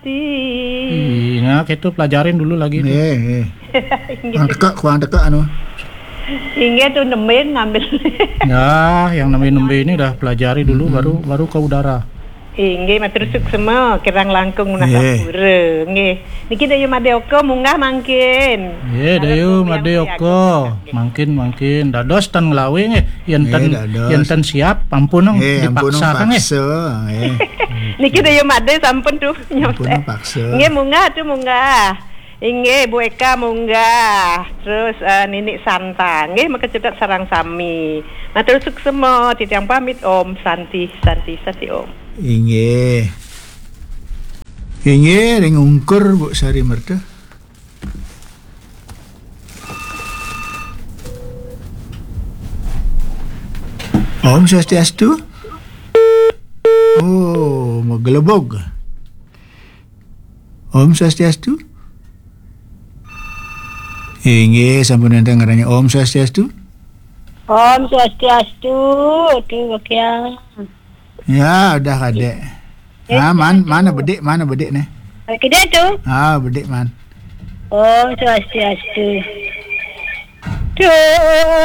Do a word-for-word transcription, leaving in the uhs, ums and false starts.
Ih, nah, itu pelajarin dulu lagi tuh. Nggih, nggih. Kurang teka, kurang teka anu. Inggih tuh, nemen ngambil. Ya, yang nembe-nembe ini udah pelajari dulu, baru, baru ke udara. Inggih, matur suksema, kirang langkung. Nggih. Nggih. Niki Dayu Madé Oka munggah mangkin. Nggih, Dayu Madé Oka. Mangkin, mangkin. Dados tan nglawe nggih. Yen tan, yen tan siap, ampun, nggih, ampun, dipaksa, nggih. Paksa, nggih. Niki Dayu Madé sampun tuh nyontek. Ampun, paksa. Nggih, munggah tuh, munggah. Inggih, Bu Eka munggah. Terus, eh, Ninik Santa. Nggih, makecetet sareng sami. Matur suksema, titiang pamit, Om Santi, Santi, Santi, Om. Inggih. Inggih, ring ungkur, Bu Sari Merta. Om Swastiastu. Oh, magelebog. Om Swastiastu. Inggih, sampun wénten ngarannya Om Swastiastu. Om Swastiastu, tuh, Bakyang. Ya, udah kadé. Eh, ah, man, mana bedik, mana bedik nih? Kadé tuh. Ah, bedik man. Om Swastiastu. Tuh.